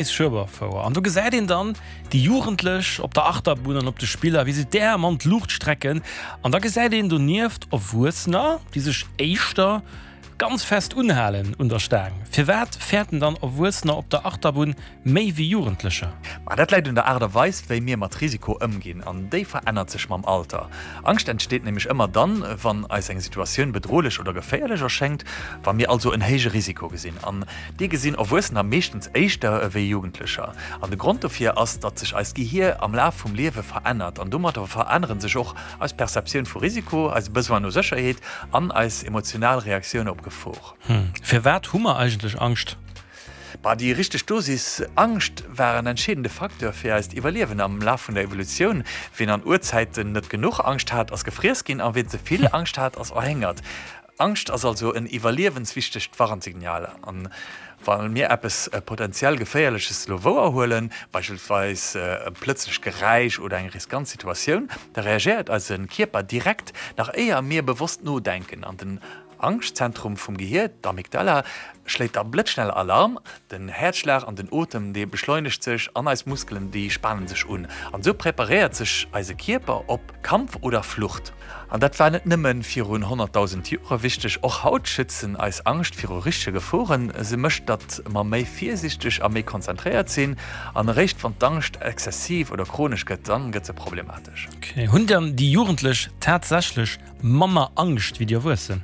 Schueberfouer an do gesäit een dann déi Jugendlech op der Achterbunn an op de Spiller, wéi se d'Äerm an d'Luucht strecken an da gesäit een donieft Erwuessener, déi sech éischter ganz fest unhalen un der Staang. Firwat fäerten dann Erwuessener op der Achterbunn méi wéi Jugendlecher? Ma dat läit un der Aart a Weis, wéi mir mat Risiko ëmginn an déi verännert sech mam Alter. Angscht entsteet nämlech ëmmer dann, wann eis eng Situatioun bedrohlech oder geféierlech erschéngt, wa mir also en héije Risiko gesinn. An Déi gesinn Erwuessener meeschtens éischter ewéi Jugendlecher. An de Grond dofir ass, datt sech eist Gehier am Laf vum Liewe verännert. An domatter verännere sech och eis Perceptioun vu Risiko, eise Besoin no Sécherheet an eis emotional Reaktioun op Gefor. Hm, firwat hu mer eigentlech Angscht? Bah, déi richteg Dosis Angscht war en entscheedende Facteur fir eist Iwwerliewen am Laf vun der Evolutioun. Wien an Urzäiten net genuch Angscht hat, ass gefriess ginn, a wien ze vill Angscht hat, ass erhéngert. Angscht ass also en iwwerliewenswichtegt Warnsignal. An wa mir eppes potenziell Geféierleches elo wouerhuelen, beispillsweis e plëtzlecht Geräisch oder eng riskant Situatioun, da reagéiert eise Kierper direkt, nach éier mir bewosst nodenken. An den Angschtzentrum vum Gehier, d'Amygdala, schléit da blëtzschnell Alarm. Den Häerzschlag an den Otem, dee beschleunegt sech an eis Muskelen, déi spanen sech un. An esou preparéiert sech eise Kierper op Kampf oder Flucht. An dat war net nëmme virun 100.000 Jore wichteg, och haut schützen eis Angscht viru richtege Geforen. Se mécht, datt mer méi virsiichteg a méi konzentréiert sinn. An eréischt wann d'Angscht exzessiv oder chronesch gëtt, dann gëtt se problematesch. Ok, hunn dann déi Jugendlech tatsächlech manner Angscht wéi déi Erwuessen?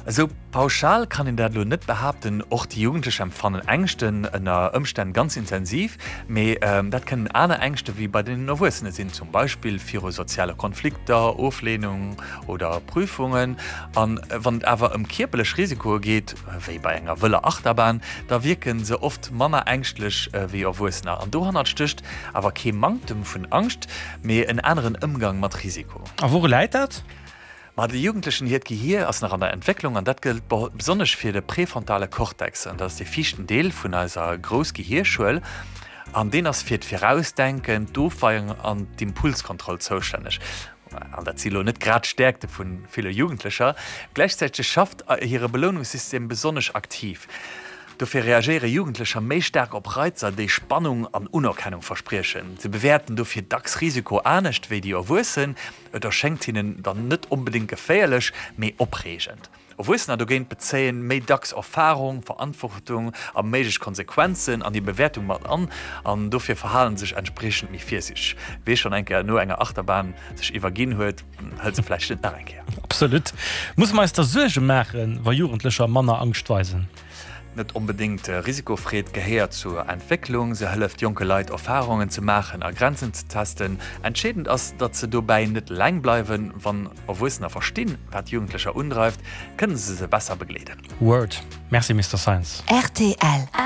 Esou pauschal kann een dat elo net behaapten. Och déi Jugendlech empfannen Ängschten ënner Ëmstänn ganz intensiv, mee dat kënnen aner Ängschte wéi bei den Erwuessene sinn, zum Beispill viru soziale Konflikter, Ofleenung oder Prüfungen. A wann et awer ëm kierperlech Risikoe geet, wéi bei enger wëller Achterbahn, da wierke se oft manner ängschtlech wéi Erwuessener. An dohannert stécht awer kee Manktem vun Angscht, mee en aneren Ëmgang mat Risiko. A wouru läit dat? Ma de Jugendlechen hiert Gehier ass nach an der Entwécklung an dat gëllt besonnesch fir de präfrontale Cortex. An dat ass dee viischten Deel vun eiser Groussgehierschuel an deen ass fir d'Virausdenken, d'Ofweiung an d'Impulskontroll zoustänneg. An dat si lo net grad d'Stäerkte vu ville Jugendlecher. Gläichzäiteg schafft hire Belounungssystem besonnesch aktiv. Dofir reagéiere Jugendlecher méi staark op Reizer, déi Spannung an Unerkennung verspriechen. Se bewäerten dofir dacks Risiko anescht wéi déi Erwuessen. Et erschéngt hinnen dann net onbedéngt geféierlech, mee opreegend. Erwuessener dogéint bezéien méi dacks Erfarung, Verantwortung a méiglech Konsequenzen an hir Bewäertung mat an an dofir verhalen sech entspriechend méi virsiichteg. Wee schonn eng Kéier no enger Achterbahn sech iwwerginn huet, hëlt se vläicht net nach eng Kéier. Absolut. Musse mer eis da Suerge maachen, wa Jugendlecher manner Angscht weisen? Net onbedéngt. Risikofreed gehéiert zur Entwécklung. Se hëlleft jonke Leit, Erfarungen ze maachen a Grenzen ze testen. Entscheedend ass, datt se dobäi net eleng bleiwen. Wann Erwuessener verstinn, wat Jugendlecher undreift, kënne se se besser begleeden. Word. Merci Mister Science. Rtl.